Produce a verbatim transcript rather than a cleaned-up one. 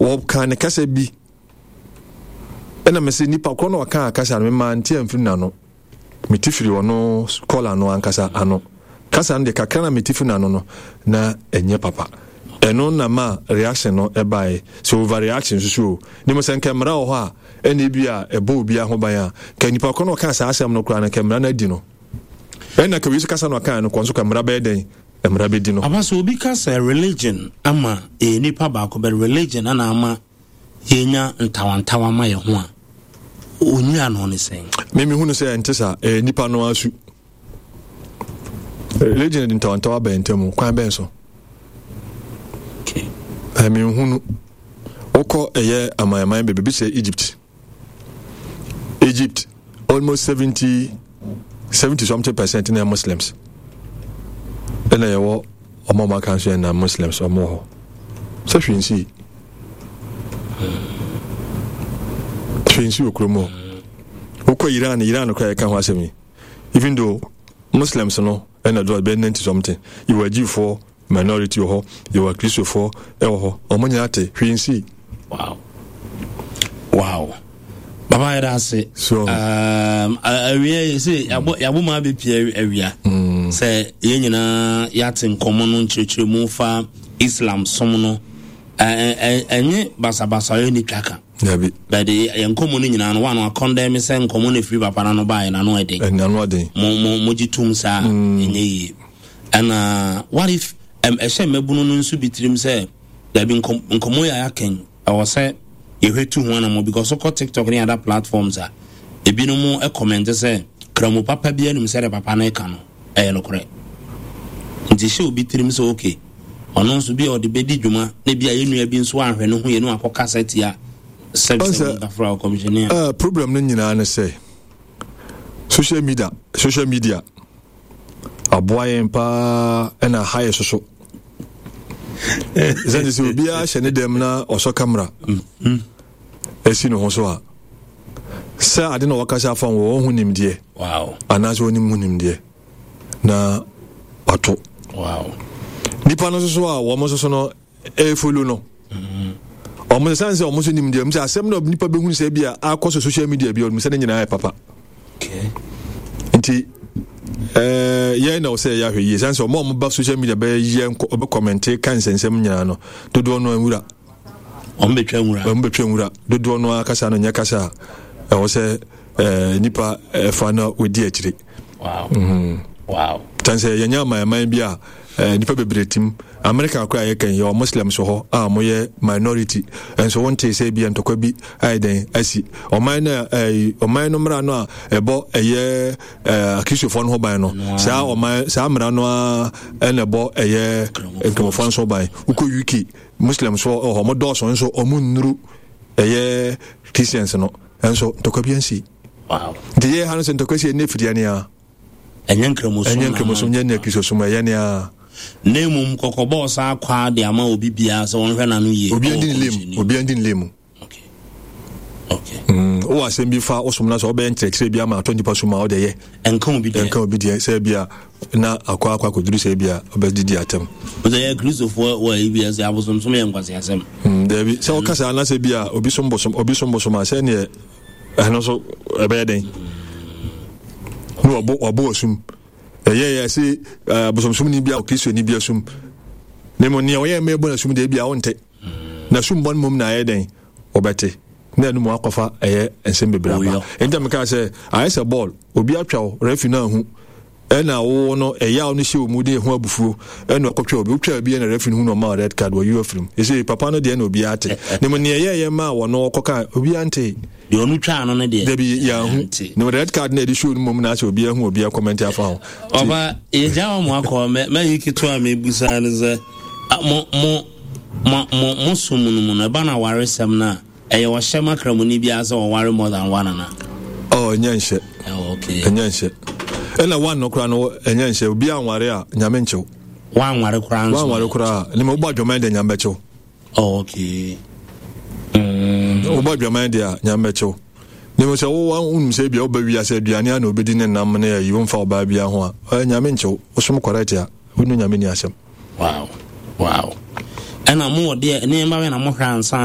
Wɔka ne kasa bi ɛna mɛ sɛ nipa korɔ na ɔka kasa no, mema nte amfiri n'ano, mete firi ɔno kɔla no ankasa ano. Kasa no deɛ, kakra na mete firi n'ano no na ɛnyɛ papa. Ɛno na ma reaction no ɛbaeɛ sɛ overreaction nso so o. Ne mo sɛ nkɛ mmara wɔ hɔ a, ɛna ebi a ɛbɔ obiara ho ban a, ka nipa korɔ na ɔka saa asɛm no koraa no, kɛ mmara no adi no. Ɛna ka wei so kasa na ɔka no kɔ nso, ka mmara bɛyɛ dɛn? Mmara bɛdi no. Aba sɛ obi ka sɛ religion ama ɛyɛ nipa baako bɛ religion ana ama yɛnya ntawantawa ma yɛ ho a, ɔnyi ano ne sɛn? Mimi hunu sɛ ɛnte saa. Ɛyɛ nipa no asu. Religion de ntawantawa bɛn ntam kwan bɛn so? Okay. Ɛmi nhunu. Wokɔ ɛyɛ amanaman bebree bi sɛ Egypt, Egypt almost seventy seventy something percent na yɛ Muslims. Ɛna yɛwɔ ɔmo a ɔmo aka nso yɛ na Muslims ɔmo wɔ hɔ sɛ hwee nsi, hwee nsi wɔ kurom hɔ. Wokɔ Iran, Iran koraa yɛka ho asɛm yi, even though Muslims no ɛna do bɛyɛ ninety something, yɛwɔ agyifoɔ minority wɔ hɔ, yɛwɔ akristofoɔ ɛwɔ hɔ, ɔmo nyinaa te, hwee nsi. wow wow baba, yɛda ase. So um, awia yi sɛ yɛabɔ yɛabɔ mu abɛpie awia sɛ yɛn nyinaa yɛate nkɔmmɔ no nkyerɛkyerɛmu fa Islam som no. ɛ- ɛ- ɛnyɛ basabasa yɛ ne twa ka. Dabi. But yɛn nkɔmmɔ no nyinaa no wa no akɔndɛm sɛ nkɔmmɔ no ɛfiri papa no no baeɛ na no ɛden. Ɛna no aden. mo mo mo gye tom saa, ɛnyɛ yie. Ɛna what if ɛm ɛhyɛ mmabunu no nso bi tirim sɛ dabi, nkɔm nkɔmmɔ yi a yɛakɛn, ɛwɔ sɛ yɛhwɛ tu ho anamɔ, because wokɔ TikTok ne other platforms a, ebinom ɛcomment sɛ kramu papa bi anim sɛ de papa no ka no ɛyɛ nokorɛ. Nti hyɛ obi tirim sɛ okay, ɔno nso bi a ɔde bɛdi dwuma na bi a yɛn nua bi nso ahwɛ ne ho yɛ no akɔ kasa tia sɛbsɛ Ɔsɛ- mutafra ɔkɔmhyɛni a Uh, problem no nyinaa ne sɛ social media social media aboa yɛn paa, ɛna ha yɛ soso ɛsɛne sɛ obiara hyɛ ne dɛm na ɔsɔ camera ɛsi ne ho so a, sɛ ade na wɔkasa afa wɔ wɔn ho nimdeɛ wow anaasɛ wɔnim ho nimdeɛ na wato wow nipa no nso so a wɔn nso so no ɛfollow no, ɔmo sɛ sɛ ɔmo nso nim deɛ sɛ asɛm na nipa bɛhunu sɛ bi a akɔ so social media bi, ɔmo sɛ ne nyinaa yɛ papa. Okay nti ɛɛ yɛn na ɔsɛ yɛ ahwɛ yie sɛ sɛ ɔmo a ɔmo ba social media bɛyɛ nkɔ ɔbɛ comment ka nsɛnsɛm nyinaa no, dodoɔ no nwura. Ɔmo bɛtwa nwura. Ɔmo bɛtwa nwura. Dodoɔ no akasa no nyɛ kasa a ɛwɔ sɛ ɛɛ nipa ɛfa na odi akyire. wow wow Tan sɛ yɛnyɛ amanaman bi a ɛɛ nipa bebree tim. America koraa yɛ kɛn, yɛwɔ Muslims wɔ hɔ a wɔyɛ minority, nso wɔnte sɛ bi ntɔkwa bi ayɛ dɛn asi ɔman no. Ɛɛ ɔman no mmara no a ɛbɔ ɛyɛ ɛɛ akristofoɔ no ho ban no, saa ɔman saa mmara no a ɛna ɛbɔ ɛyɛ nkramofoɔ nso ban. Wokɔ U K, Muslims wɔ hɔ, ɔmo dɔɔso nso ɔmo nnuru ɛyɛ Christians no, nso ntɔkwa bi ansi. Wow nti yɛ ha no sɛ ntɔkwa si ɛnɛ firi ɛnea ɛnyɛ nkramosom. Ɛnyɛ nkramosom, nyɛ ne akristosom, ɛyɛ nea Na mmom kɔkɔbɔɔ saa kwaa de ama obi biara sɛ wɔnhwɛ n'ano yie. Obi ɛwɔ ndi ne lem. kɔmhyɛni. Obi ndi ne lem. okay okay Mm, wowɔ asɛm bi fa wosom no sɛ wobɛyɛ nkyerɛkyerɛ bi ama atɔ nnipa so ma wode yɛ. Ɛnka obi deɛ. Ɛnka obi deɛ sɛ bi a na akɔ akɔ akɔduru sɛ bi a wobɛdidi atɛm. Sɛ yɛ Kristofoɔ wɔ ayi bi sɛ abosomsom yɛ nkwaseasɛm. Mm, daabi, sɛ woka saa na sɛ bi a obi som bosom, obi som bosom a, sɛ neɛ ɛno nso ɛbɛyɛ dɛn ne wabɔ wabɔ asum ɛyɛ yɛ sɛ eh, abosomsom ni bi a Kristoni bi asum ne mo nea ɔyɛ mma ɛbɔ n'asum deɛ bi a wonte na sum bɔ no mmom na ayɛ dɛn wɔbɛte na ɛno mu akɔfa ɛyɛ nsɛm bebree aba. Oyɔ. Ɛnti a meka sɛ ayɛ sɛ bɔɔl, obi atwa wo, referee no ahu, ɛna wo no ɛyaw no hyɛ wo mu de ɛho abufuo ɛna ɔkɔtwa obi, wotwa bi ɛna referee no hu no, ɔma wo red card, wɔyi wo afiri mu. Ɛsɛ papa no deɛ na obiara te ne mu neɛ ɛyɛɛyɛ ma a wɔno ɔkɔka obiara nte. Deɛ ɔno twaa no no deɛ. Dabi, yɛahu. Nte. Ne red card na ɛde show no mmom na asɛ obiara hu, obiara comment afa ho. Nti- Ɔba yɛgya wɔ mo akɔ mɛ mɛyi ketewa a mebusa no sɛ ah, mo mo mo mo mo som no mu no, ɛba no awaresɛm no a, ɛyɛ ɔhyɛ ma kramoni biara sɛ ɔware more than one ana? Oh, ɛnyɛ nhyɛ. Oh, okay. Ɛnyɛ nhyɛ, ɛna one no koraa no ɛnyɛ nhyɛ. Obiara nware a Nyame nkyew. Wanware koraa nso? Wanware koraa ne ma wobɔ adwaman deɛ, Nyame bɛkyew. Oh, okay mm. Wobɔ adwaman deɛ a, Nyame bɛkyew. Ne mu sɛ wo wonim sɛ bia woba wiase aduane a na wobɛdi ne nam ne ayi, womfa ɔbaa bia ho a, ɛ, Nyame nkyew. Wosom correct a, wonu Nyame ni asɛm. wow wow ɛna mowɔ deɛ nneɛma bɛ na mohwɛ ansa